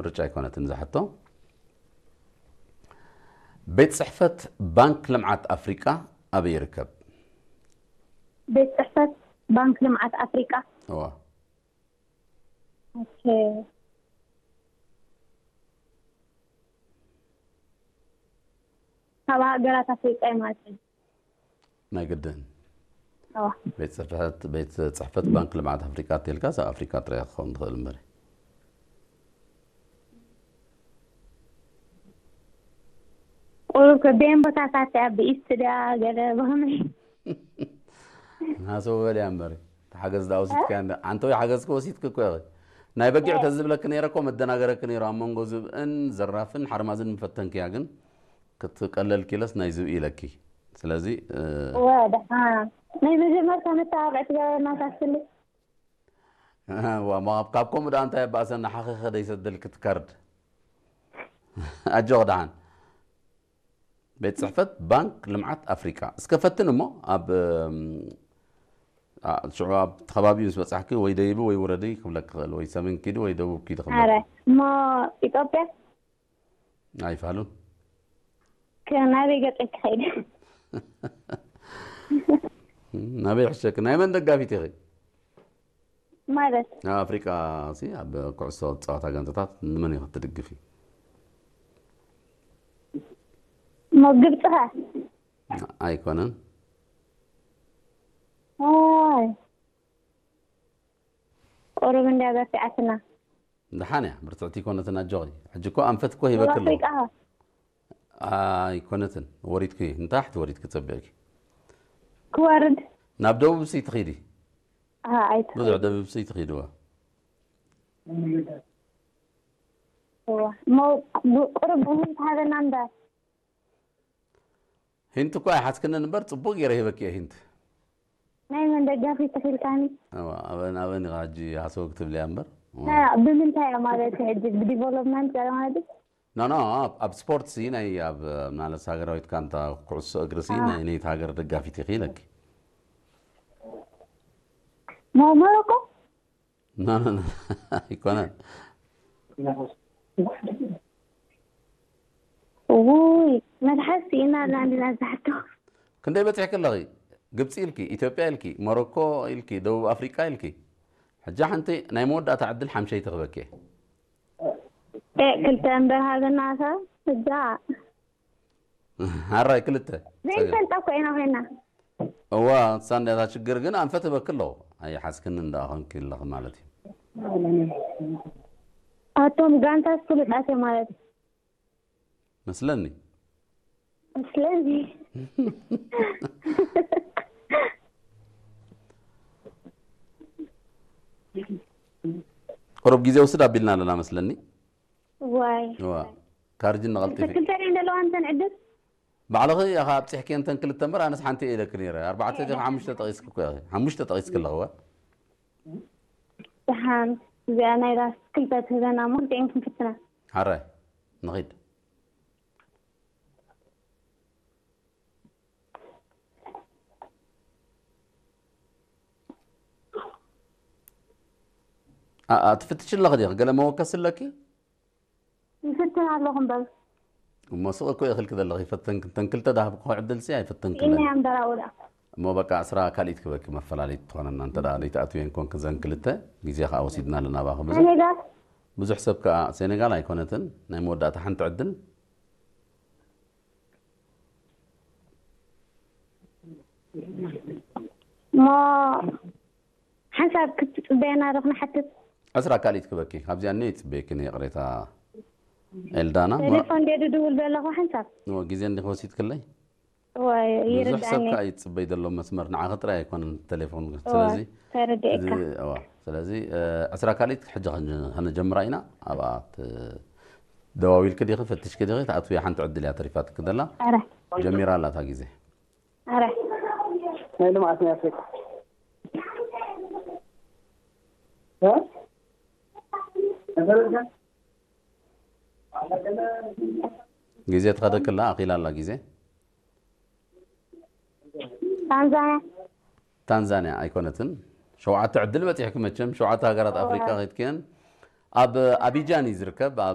ምርጫ ኣይኮነትን እዛ ሕቶ። ቤት ጽሕፈት ባንክ ልምዓት ኣፍሪቃ ኣበይ ይርከብ? ቤት ጽሕፈት ባንክ ልምዓት ኣፍሪቃ። እዋ። ኦኬ። ካብ ሃገራት ኣፍሪቃ እዩ ማለት እዩ። ናይ ግድን እዋ። ቤት ጽሕፈት ቤት ጽሕፈት ባንክ ልምዓት ኣፍሪቃ እተልካ ኣብ ኣፍሪቃ ጥራይ ክኸውን ትኽእል እምበር። ቁሩብ ከቢኤን ቦታታት እያ፣ ብኢስት ድያ ገለ ብኸመይ? ናሰው በልያ እምበር። እቲ ሓገዝ ዳ ወሲድካ እንደ ኣንተ ወይ ሓገዝ ከወሲድክ እኮ ኢኺ። ናይ በጊዕ ተዝብለክ ነይረ እኮ መደናገረክ ነይሩ። ኣብ መንጎ ዝብእን ዘራፍን ሓርማዝን ምፈተንክያ ግን ክትቀለል ኪለስ ናይ ዝብኢ ኢለኪ። ስለዚ እ፣ ወደሓ ናይ መጀመርታ መተባብዒ ትገበረና ሳስሊ። ዋ፣ ማ-፣ ካብ ከምኡ ደኣ እንታይ ኣባእሰና ሓኺኸ ደይሰደልክ እቲ ካርድ። ኣጆኽ ደሓን። ቤት ጽሕፈት ባንክ ልምዓት ኣፍሪቃ። እስከ ፈትን እሞ ኣብ፣ እም፣ ኣ፣ ሽዑ ኣብ ከባቢኡ ምስ በጻሕኪ ወይ ደይቢ ወይ ውረዲ ክብለክ ክኽእል፣ ወይ ሰሜን ኪዲ ወይ ደቡብ ኪዲ ክብለክ። ኣረ እሞ ኢትዮጵያ ኣይፋሉን። ከ ናበይ ገጸይ ክኸይድ? ናበይ ሕሸክ? ናይ መን ደጋፊት ኢኺ? ማለት ኣብ ኣፍሪቃ ሲ ኣብ ኩዕሶ ዝጻወታ ጋንታታት ንመን ኢኺ ትድግፊ? እሞ ግብጺ ኸ? ኣይኮነን። ኣይ ቁሩብ እንድያ በርቲዓትና። ደሓን እያ፣ ብርትዕቲ ኣይኮነትን፣ ኣጆኺ። ሕጂ እኮ ኣንፈት እኮ ሂበክ ኣለኹ። ኣፍሪቃ ኸ? ኣይኮነትን፣ ወሪድኪ፣ ንታሕቲ ወሪድኪ ጸቢቕኪ። ክወርድ? ናብ ደቡብ ሲ ትኺዲ? ኣሃ፣ ኣይትኽእል። ብዙሕ ደቡብ ሲ ትኺድዋ። እዋ። እሞ ብ-፣ ቁሩብ ብህንት ሃበና እምበር። ሂንት እኮ ኣይሓዝክንን እምበር ጽቡቕ ገይረ ሂበኪ እየ ሂንት። ናይ መን ደጋፊት ኢልካኒ? እዋ፣ ኣበን፣ ኣበን ኢኻ ሕጂ ሃሰው ክትብልያ እምበር። ና፣ ብምንታይ እያ ማለት እዩ ሕጂ? ብዲቨሎፕመንት ገለ ማለት እዩ? ኖ፣ ኖ፣ ኣብ፣ ኣብ ስፖርት ሲ ናይ ኣብ፣ ማለት ሃገራዊት ጋንታ ኩዕሶ እግሪ ሲ ኣዎ። ናይ ነይቲ ሃገር ደጋፊት ኢኺ ኢለኪ። ሞ-፣ ሞሮኮ? ኖ፣ ኖ፣ ኖ፣ ኣይኮነን። ውይ፣ መልሓስ ስኢና ኣላ እንዲና ዝሓቶ። ክንደይ በጺሕኪ ኣለኺ? ግብጺ ኢልኪ፣ ኢትዮጵያ ኢልኪ፣ ሞሮኮ ኢልኪ፣ ደቡብ ኣፍሪቃ ኢልኪ። ሕጂ ሓንቲ ናይ መወዳእታ ዕድል ሓምሸይቲ ክበኪ እየ። ኤ፣ ክልተ እምበር ሃበና እታ። እዛ። ሓራይ ክልተ። ጸገም። ዘይንፈልጣ እኮ ኢና ኮይና። እዋ፣ እሳ እንድያ እታ ሽግር ግን ኣንፈት ህበኪ ኣለኹ። ኣይሓዝክኒ እንዳ ኾንኪ ኣለኺ ማለት እዩ። ኣቶም ጋንታት ፍሉጣት እዮም ማለት እዩ። መስለኒ። ስለዚ ቁሩብ ግዜ ውስድ ኣቢልና ኣለና መስለኒ። ዋይ እዋ፣ ካርጅ ንቐልጢፊ። ክልተ ድየን ዘለዋ እንተን ዕድል? ባዕልኺ ኢኻ ኣብፂሕኪ እንተን ክልተ እምበር ኣነስ ሓንቲ እየ ኢለኪ ነይረ። ኣርባዕተ ዲኺ ሓሙሽተ ጠቒስኪ እኮ ኢኺ። ሓሙሽተ ጠቒስኪ ኣለኹ እዋ። ደሓን እዚኣ ናይ ራስ ክልተ ትህበና እሞ ክልቲኤን ክንፍትና። ሓራይ ንኺድ። ኣኣ፣ ትፍትሽ ኣለኺ ዲኺ? ገለ መወከሲ ኣለኪ? ይፍትን ኣለኹ እምበር። እሞ ስቕ እኮ ኢኺ ኢልኪ ዘለኺ፣ ፈተንኪ፣ እተን ክልተ ዝሃብኩኺ ዕድልሲ ኣይፈተንክለን። ኢነ እምበር ኣብኡ ደኣ። እሞ በቃ ዕስራ ካልኢት ክበኪ መፈላለይት ትኾነና፣ እንተ ደኣ ዘይትኣትውየን ኮንኪ ዘን ክልተ፣ ግዜ ከኣ ወሲድና ኣለና ኣባኺ ብዙሕ። ሴኔጋል? ብዙሕ ሰብ ከኣ፣ ሴኔጋል ኣይኮነትን፣ ናይ መወዳእታ ሓንቲ ዕድል። እሞ ሓንሳብ ክትጽበየና ዶ ክንሓትት? ዕስራ ካልኢት ክበኪ፣ ካብዚኣ እነ ይጽበየኪ፣ ይቕሬታ ኤልዳና። ሞ-፣ ቴሌፎን ድየ ድድውል ዘለኹ ሓንሳብ? እሞ ግዜ እንዲኺ ወሲድክለይ? ወይ ብዙሕ ሰብ ይርዳኒ። ከኣ ይጽበይ ዘሎ መስመር ንዓኺ ጥራይ ኣይኮነን ቴሌፎን። እዋ፣ ስለዚ ተረዲኤካ። እዚ፣ እዋ፣ ስለዚ፣ እ፣ ዕስራ ካልኢት ሕጂ ከን-፣ ከነጀምራ ኢና። ኣብኣ ት-፣ ደዋዊልኪ ዲኺ፣ ፈቲሽኪ ዲኺ፣ ትኣትውያ ሓንቲ ዕድል እያ ተሪፋትኪ ዘላ። ኣረ፣ ጀሚራ ኣላ እታ ግዜ። ኣረ። ናይ ልምዓት ናይ ኣፍሪቃ እ? ግዜ ትኸደክላ፣ ኣኺላ ኣላ ግዜ። ታንዛንያ። ታንዛንያ ኣይኮነትን። ሸውዓተ ዕድል በጺሕኪ መቸም፣ ሸውዓተ ሃገራት ኣፍሪቃ ከይድክየን። ኣብ ኣቢጃን እዩ ዝርከብ፣ ኣብ